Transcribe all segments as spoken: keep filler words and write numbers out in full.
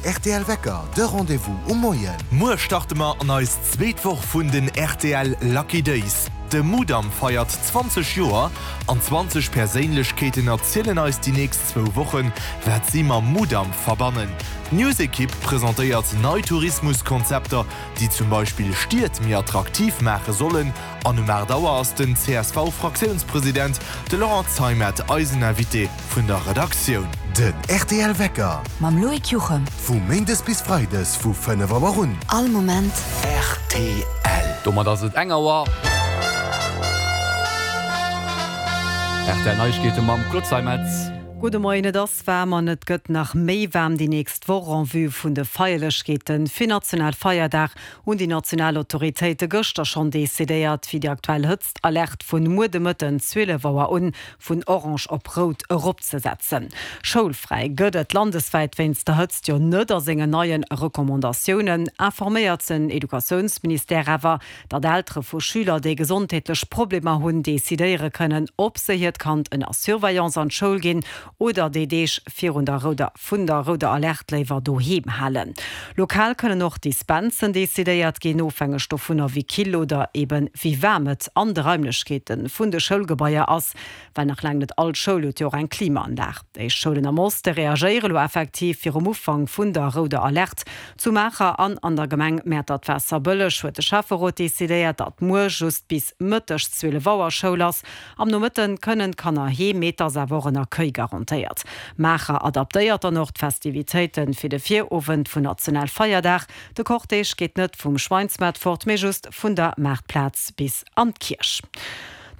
rtl Wecker, de Rendez-vous um Moien. Muer starte mer an eis zweet Woch vun den rtl Lucky Days. De Mudam feiert zwanzeg Joer an zwanzeg Perséinlechkeeten erzielen eis déi nächst zwou Wochen, wat si mam Mudam verbannen. D'News-Ekipp presentéiert nei Tourismuskonzepter, déi zum Beispill Stied méi attraktiv maache sollen. An um aacht Auer ass den C S V-Fraktiounspresident, de Laurent Zeimet, eisen Invité vun der Redaktioun. Den rtl Wecker. Mam Loïc Juchem. Vu méindes bis freides vu fënnef Auer un. All Moment. Rtl. Domat ass et eng Auer. R T L Neiegkeete mam Claude Zeimetz. Gudde Moien, et ass waarm an et gëtt nach méi waarm déi nächst Woch. En vue vun de Feierlechkeete fir Nationalfeierdag hunn déi national Autoritéite gëschter schonn decidéiert, fir déi aktuell Hëtztalerte vun muer de Mëtten zwielef Auer un vun orange op rout eropzesetzen. Schoulfräi gëtt et landeswäit wéinst der Hëtzt jo net. A sengen neie Recommandatiounen informéiert den Educatiounsministère awer, datt Eltere vu Schüler, déi gesondheetlech Problemer hunn, decidéiere kënnen, ob se hiert Kand ënner Surveillance an d'Schoul ginn oder déi Deeg virun der rouder vun der rouder Alerte léiwer doheem halen. Lokal kënnen och Dispensen decidéiert ginn, ofhängeg dovunner wéi kill oder eben wéi waarm et an de Raimlechkeete vun de Schoulgebaier ass, well nach laang net all Schoul huet jo och eng Klimaanlag. Éischt Schoulen am Oste reagéiere lo effektiv virum Ufank vun der rouder Alerte. Zu Maacher an an der Gemeng Mäertert-Waasserbëlleg huet de Schäfferot decidéiert, datt muer just bis mëttegs zwielef Auer Schoul ass. Am Nomëtte kënnen d'Kanner heem, mee et ass awer och en Accueil garantéiert. Maacher adaptéiert dann och d'Festivitéite fir de Virowend vun Nationalfeierdag. De Cortège geet net vum Schweinsmaart fort, mee just vun der Maartplaz bis an d'Kierch.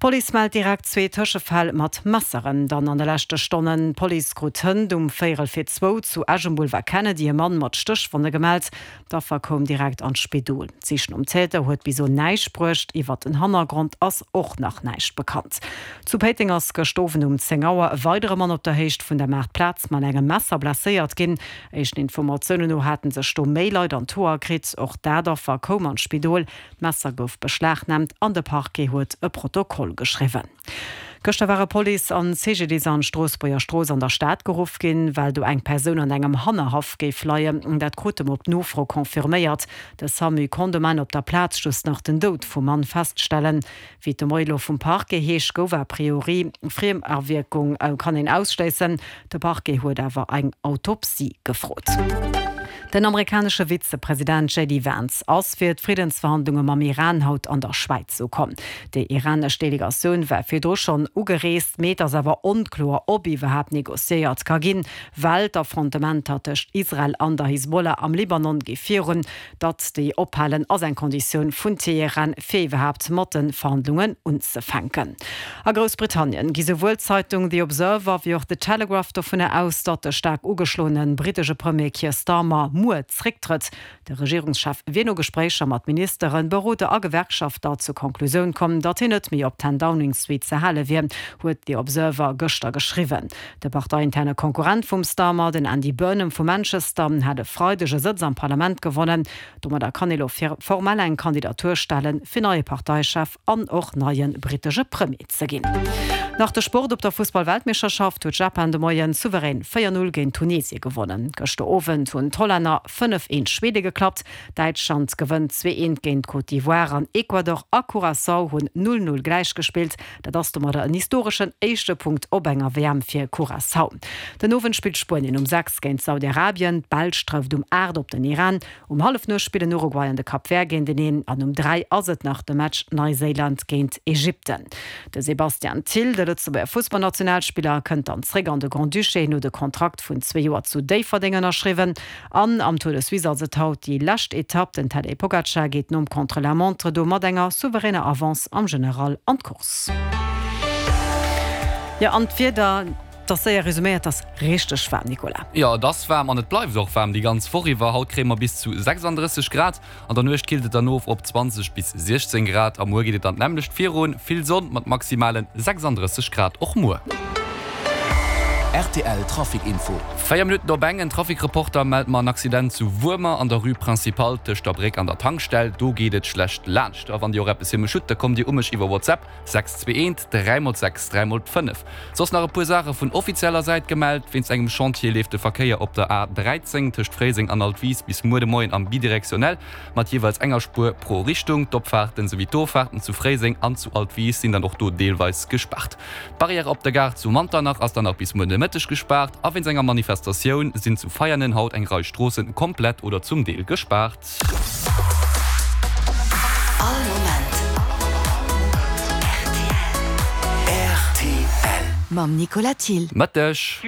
D'Police mellt direkt zwee Tëschefäll mat Messeren dann an de leschte Stonnen. D'Police krut hënt um véierel fir zwou zu Esch um Boulevard Kennedy e Mann mat Stéchwonne gemellt. D'Affer koum direkt an d'Spidol. D'Sich nom Täter huet bis elo näischt bruecht. Iwwert den Hannergrond ass och nach näischt bekannt. Zu Péiteng ass gëscht Owend um zéng Auer e weidere Mann op der Héicht vun der Maartplaz mat engem Messer blesséiert ginn. Éischten Informatiounen no hate sech do méi Leit an d'Hoer kritt. Och dat Affer koum an d'Spidol. D'Messer gouf beschlagnaamt an de Parquet huet e Protokoll geschriwwen. Gëschter ware Police an C G D I S an d'Stroossbuerger Strooss an der Stad geruff ginn, well do eng Persoun an engem Hannerhaff géif leien. Dat krute mer op Nofro confirméiert. De Samu konnt um Enn op der Plaz just nach den Doud vum Mann feststellen. Wéi et de Moie lo vum Parquet heescht, gouf a priori Friemawierkung kann een ausschléissen. De Parquet huet awer eng Autopsie gefrot. Den amerikanesche Vizepresident J D Vance ass fir d'Friddensverhandlunge mam Iran haut an der Schwäiz ukomm. Déi iranesch Delegatioun war virdru schonn ugereest, mee et ass awer onkloer, ob iwwerhaapt negociéiert ka ginn, well d'Affrontementer tëscht Israel an der Hisbollah am Libanon gi virun. Datt déi ophalen, ass eng Konditioun vun Teheran, fir iwwerhaapt mat de Verhandlungen unzefänken. A Groussbritannien gi souwuel d'Zeitung The Observer wéi och The Telegraph dovunner aus, datt de staark ugeschloene brittesche Premier Keir Starmer muer zrécktrëtt. De Regierungschef wier no Gespréicher mat Ministeren, Beroder a Gewerkschafter zur Konklusioun komm, datt hien net méi op Ten Downing Street ze hale wier, huet The Observer gëschter geschriwwen. De parteiinterne Konkurrent vum Starmer, den Andy Burnham vu Manchester, hat e Freideg e Sëtz am Parlament gewonnen. Domadder kann hie lo formell eng Kandidatur stellen, fir neie Parteichef an och neie brittesche Premier ze ginn. Nach de Sport, Op der Fussball-Weltmeeschterschaft huet Japan de Moien souverän véier Null géint Tunesie gewonnen. Gëschter Owend hunn d'Hollänner fënnef eent Schwede geklappt. Däitschland gewënnt zwee eent géint Côte d'Ivoire an Ecuador a Curaçao hunn null null gläichgespillt. Dat ass domadder en historeschen éischte Punkt op enger W M fir Curaçao. Den Owend spillt Spuenien um sechs géint Saudi-Arabien, d'Belsch trëfft um aacht op den Iran. Um hallef spillen Uruguay an de Cap Vert géinteneen an um dräi ass et nach de Match Neuseeland géint Ägypten. De Sebastian Thill, de Lëtzebuerger Fussballnationalspiller, kënnt dann zréck an de Grand-Duché, hien huet e Kontrakt vun zwee Joer zu Déifferdeng ënnerschriwwen. An am Tour de Suisse ass et haut déi lescht Etapp. Den Tadej Pogacar geet nom Contre-la-montre do mat enger souveräner Avance am General an d'Course. Jo, an d'Wieder, dat ass séier resuméiert, ass richteg waarm, Nicolas. Jo, et ass waarm an et bleift och waarm déi ganz Woch iwwer. Haut kréie mer bis zu sechsanddrësseg Grad, an der Nuecht killt et dann of op zwanzeg bis siechzéng Grad a muer geet et dann d'nämmlecht virun, vill Sonn mat maximale sechsanddrësseg Grad och muer. R T L Trafic Info. Véier Minutten op eng, En Trafic-Reporter mellt mer en Accident zu Wuermer an der Rue Principale tëscht der Bréck an der Tankstell. Do geet et schlecht laanscht. A wann Dir och eppes fir mech hutt, da kommt Dir u mech iwwer WhatsApp, sechs zwee eent, dräi mol sechs, dräi mol fënnef. Soss nach e puer Saache vun offizieller Säit gemellt, Wéinst engem Chantier leeft de Verkéier op der A dräizéng tëscht Fréiseng an Altwis bis muer de Moien am bidirektionell mat jeeweils enger Spuer pro Richtung. D'Opfaarten souwéi d'Offaarten zu Fréiseng an zu Altwis sinn dann och do deelweis gespaart. D'Barrière op der Gare zu Manternach ass dann nach bis muer Nomëtteg gespaart a wéinst enger Manifestatioun sinn zu Veianen haut eng Rei Stroossen komplett oder zum Deel gespaart. All Moment rtl. Mam Nicolas Thill. Mëtteg.